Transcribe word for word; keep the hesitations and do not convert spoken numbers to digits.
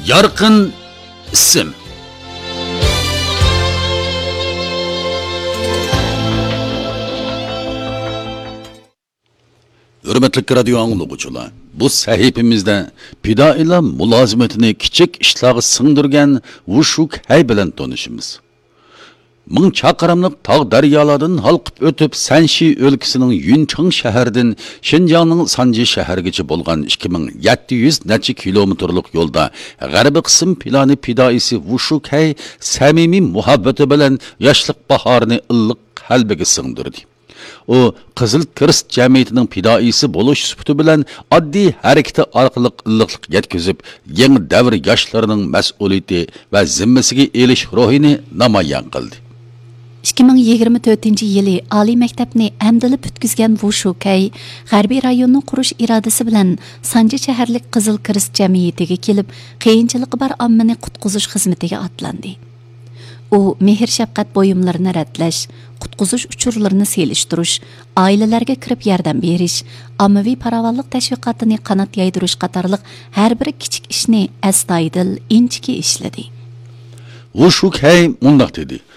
يارقىن ئىسىم. ھۆرمەتلىك رادىيو ئاڭلىغۇچىلار، بۇ سەھىپىمىزدە پىدائىيلار مۇلازىمىتىنى كىچىك ئىشلارغا سىڭدۈرگەن ۋۇشۇكەي بىلەن تونۇشىمىز. مىڭ چاقىرىملىق تاغ دەريالاردىن ھالقىپ ئۆتۈپ، سەنشى ئۆلكىسىنىڭ يۈنچېڭ شەھىرىدىن شىنجاڭنىڭ سانجى شەھىرىگىچە بولغان ئىككى مىڭ يەتتە يۈز نەچچە كىلومېتىرلىق يولدا غەربىي قىسىم پىلانى پىدائىيسى ۋۇشۇكەي سەمىمىي مۇھەببىتى بىلەن ياشلىق باھارىنى ئىللىق قەلبىگە سىڭدۈردى. ئۇ قىزىل كىرېست جەمئىيىتىنىڭ پىدائىيسى بولۇش سۈپىتى بىلەن ئاددىي ھەرىكىتى ئارقىلىق ئىللىقلىق يەتكۈزۈپ، يېڭى دەۋر ياشلىرىنىڭ مەسئۇلىيىتى ۋە زىممىسىگە ئېلىش روھىنى نامايان قىلدى. ئىككى مىڭ يىگىرمە تۆتىنچى يىلى ئالىي مەكتەپنى ئەمدىلا پۈتكۈزگەن ۋۇ شۇكەي غەربىي رايوننى قۇرۇش ئىرادىسى بىلەن سانجى شەھەرلىك قىزىل كىرېست جەمئىيىتىگە كېلىپ، قىيىنچىلىقى بار ئاممىنى قۇتقۇزۇش خىزمىتىگە ئاتلاندى. ئۇ مېھىر-شەپقەت بۇيۇملىرىنى رەتلەش، قۇتقۇزۇش ئۇچۇرلىرىنى سېلىشتۇرۇش، ئائىلىلەرگە كىرىپ ياردەم بېرىش، ئاممىۋى پاراۋانلىق تەشۋىقاتىنى قانات يايدۇرۇش قاتارلىق ھەر بىر كىچىك ئىشنى ئەستايىدىل، ئىنچىكە ئىشلىدى. ۋۇ شۇكەي مۇنداق دېدى: